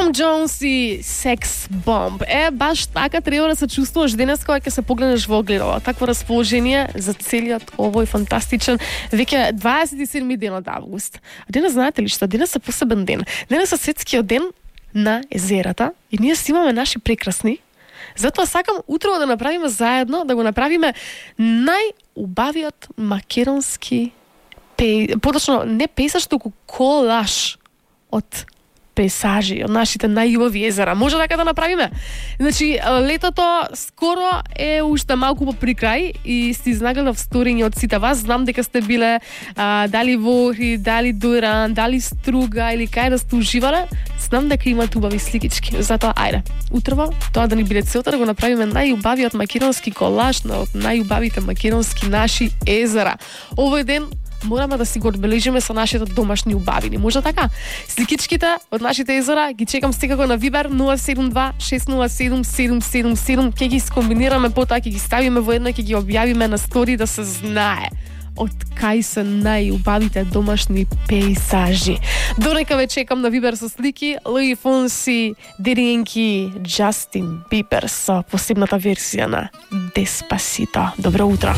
Tom Jones и Sex Bomb. Баш така треба да се чувствуваш денес кога ќе се погледнеш во огледало. Такво расположение за целиот овој фантастичен веќе 27 ден од август. А денес знаете ли што? Денес е посебен ден. Денес е светскиот ден на езерата и ние си имаме наши прекрасни. Затоа сакам утро да направиме заедно, да го направиме најубавиот македонски поточно не пейсаж, туку колаж од пейсажи, од нашите најубави езера. Може така да направиме? Значи, летото скоро е уште малку по прикрај и си изнагледав сториња од сите вас. Знам дека сте биле дали во Охрид, дали Дујран, дали Струга или кај да сте уживале. Знам дека имат убави сликички. Затоа, ајде, утрово, тоа да ни биде целта да го направиме најубавиот македонски колаж од најубавите македонски наши езера. Овој ден мораме да си го одбележиме со нашите домашни убавини. Може така? Сликичките од нашите езера ги чекам секако на Viber 072 607 777. Ќе ги скомбинираме, потоа ќе ги ставиме во едно, ќе ги објавиме на стори да се знае од кај се најубавите домашни пейсажи. Дорека ве чекам на Viber со слики. Луи Фонси, Daddy Yankee, Justin Bieber со посебната версија на Despacito. Добро утро.